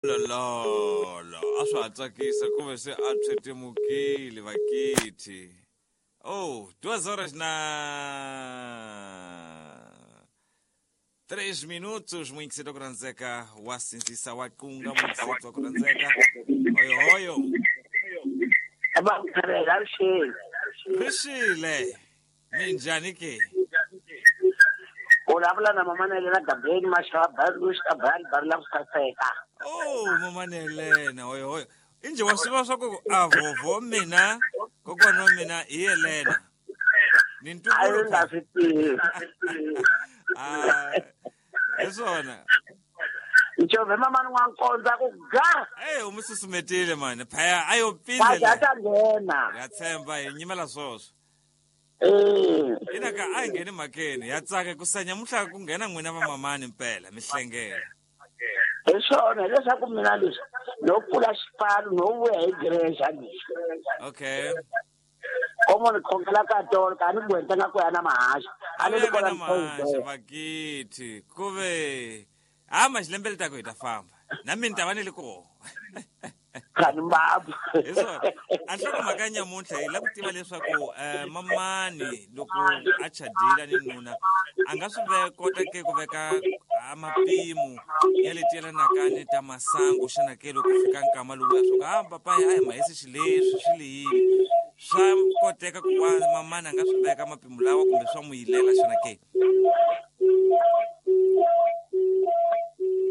Lololo, a swa ha tsakisa ku ve se a pyetemukile vakithi. Oh, duas horas na 3 minutos muinkiseto ku rhandzeka wa sindzisa wa qunga muinkiseto wa ku rhandzeka hoyo hoyo Vamkhavela rixile. Rixile minjhani ke? U vulavula na mama Nelena Gabeni Mashava Barush Abani Barula ku saseka. Oh, mama Nelena hoyo hoyo. Inje wa swi swa ku a vovo mina kokwana wa mina hi Yelena. Ni A ntukulu yi nga swi tivi. Ah, hi swona. Ncove mama n'wankondza ku ga. Eh, u mi susumetile mani. Phaya a yo Wa pindle. ta nghena. Ya tshemba hi nyimela swoswo. Eh. Ina ka a hi ngheni mhakeni ya tsaka ku sa nyamuhla ku nghena n'wina vamamani mpela mi hlengela. Hi swona hileswaku mina leswi no pfula xipano no vuya hi grexa leswi. Okay. Komo ni khongela ka tolo ka ni gwenta nga ku ya na mahaxa. A ni Ni kwala na mahaxa Mthombo. vakithi ku ve ha maxilembele ta ku hi ta famba na mina ni ta va ni li koho. Khani mbabu. Hi swona. A nhlokomhaka ya nyamuntlha hi lava ku tiva leswaku mamani loko a chadile ni nuna a nga swi kota ke ku veka a mapimo ya leti yelanaka ni ta masangu xana ke loko fika nkama lowuya swa ku a papaya a hi mahisi xileswi swi leyini swa koteka ku va mamani a nga swi veka mapimo lawa kumbe swa n'wi yilela xana ke?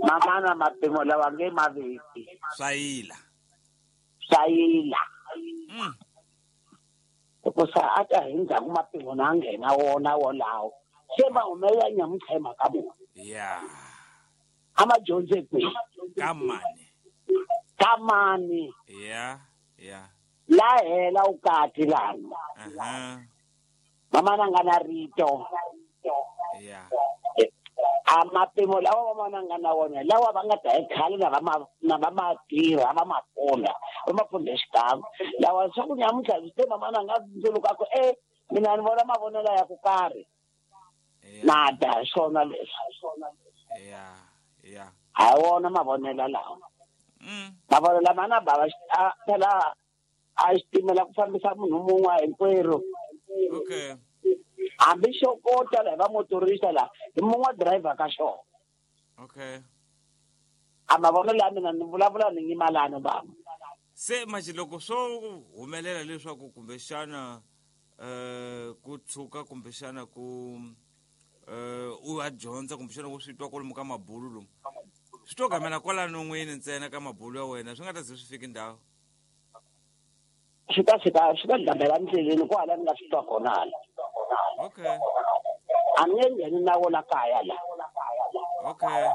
Mamana mapimo lawa nge maveki. Swa yila. Swa yila. Hikusa a ta hi ndzhaku mapimo na nghena wona wolawo. Se ma humelela nyamuntlha hi mhaka muni? Ya. A ma dyondze kwihi? Ka mani? Ka mani? Ya, ya. La hela ukati lani. Aha. Mamana nga na rito. Ya. A mapimo lawa mamana nga na wona lawa va nga ta hi khale na va ma na va ma tirha va ma pfuna va ma pfuna xikan'we lawa swa ku nyamuntlha swi te mamana nga ndzuluka ku e mina ni vona mavonelo ya ku karhi na da hi swona leswi. Ya, ya. Ha wona mavonelo lawa. Mavonelo lama na bava phela a xitimela ku fambisa munhu mun'we hinkwerhu. Okay. Hambi xo kota la hi va motorista la hi mun'we driver ka xona. Okay. A mavonelo ya mina ni vulavula ni nyimalani bava. Se manje loko swo humelela leswaku kumbexana ku tshuka kumbexana ku u ya dyondza kumbexana u swi twa kwalomu ka mabulu lomu swi to gamela kwalano n'wini ntsena ka mabulu ya wena swi nga ta ze swi fiki ndhawu. Swi ta fika swi ta gamela ndleleni kwala ni nga swi twa kona hala. Okay. A ni nge ngheni na wona kaya la. Okay.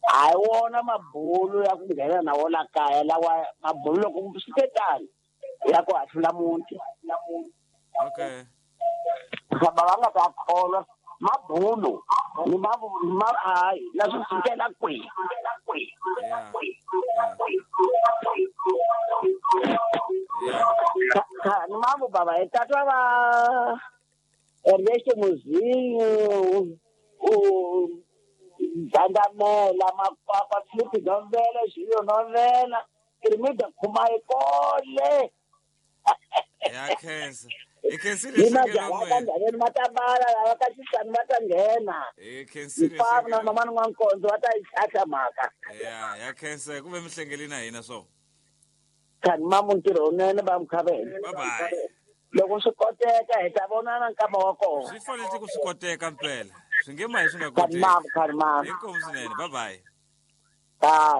Hayi wona mabulu ya ku nghena na wona kaya lawa mabulu loko swi te tani ya ku hahlula muti. Okay. Lava va nga ta kholwa mabulu ni ma ma hayi na swi fikela kwihi. Yeah. Ni mavu baba hi tatwa va Ernesto Muzinho u Dandamela Makwakwa Filipi Novela Julio Novela Kirimida Khumayi kole. Ya khensa. Hi khensile Ni nhlekelo majaha ka n'wina. ndhaveni ma ta bala lava ka xisani va ta nghena. Hi khensile Mfana na nhlekelo. mama n'wankondzo va ta yi tlhahla mhaka. Ya, ya khensa ku ve mi hlengeli na hina so. Khani mamu ntirho wunene va Mkhavela. Bye bye. Loko swi koteka hi ta vonana nkama wa kona. Swi fanele ku swi koteka mpela. Swi nge mahi swi nga Khani koteki. mamu, khani mamu. Inkomu swinene. Bye bye. Bye.